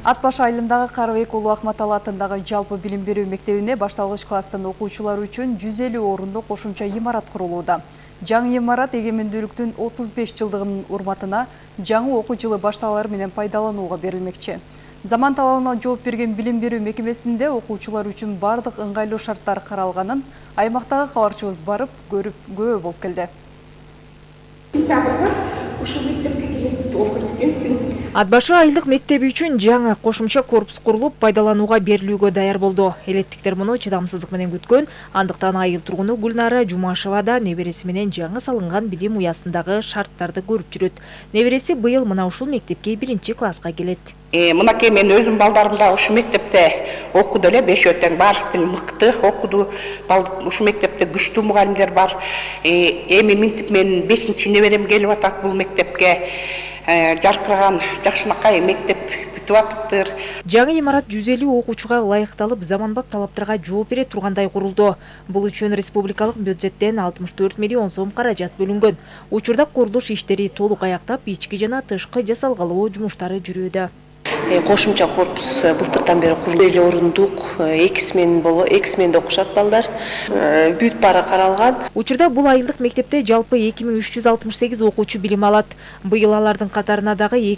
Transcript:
Ат баш айылындагы Карыбек уулу Акматалы атындагы жалпы билим берүү мектебине башталгыч класстын окуучулары үчүн 150 орунду кошумча имарат курулууда. Жаңы имарат эгемендүүлүктүн 35 жылдыгынын урматына жаңы окуу жылы башталары менен пайдаланууга берилмекчи. Заман талабына жооп берген билим берүү мекемесинде окуучулар үчүн бардык ыңгайлуу шарттар каралганын аймактагы кабарчыбыз барып көрүп күбө болуп келди. Ат башы айылдык мектеби үчүн жаңы кошумча корпус курулуп, пайдаланууга берилүүгө даяр болду. Элеттиктер муну чыдамсыздык менен күткөн, андыктан айыл тургуну Гүлнара Жумашева да небереси менен жаңы салынган билим уясындагы шарттарды көрүп жүрөт. Небереси быйыл мына ушул мектепке 1-класска келет. Мынакей мен өзүм балдарымда ушу мектепте окуду эле, 5 тең баарысы тең мыкты окуду. Ушу мектепте күчтүү мугалимдер бар. Эми минтип мен 5-неберем келип атат бул мектепке. Жаркыраган жакшынакай мектеп бүтүп атыптыр. Жаңы имарат 150 окуучуга ылайыкталып, заманбап талаптарга жооп бере тургандай курулду. Бул үчүн республикалык бюджеттен 64 миллион сом каражат бөлүнгөн. Учурда курулуш иштери толук аяктап, ички жана тышкы жасалгалоо жумуштары жүрүүдө. Кошумча корпус былтырдан бери курулду. 50 орундук, 2 сменде окушат балдар. Бүт баары каралган. Учурда бул айылдык мектепте жалпы 2368 окуучу билим алат. Быйыл алардын катарына дагы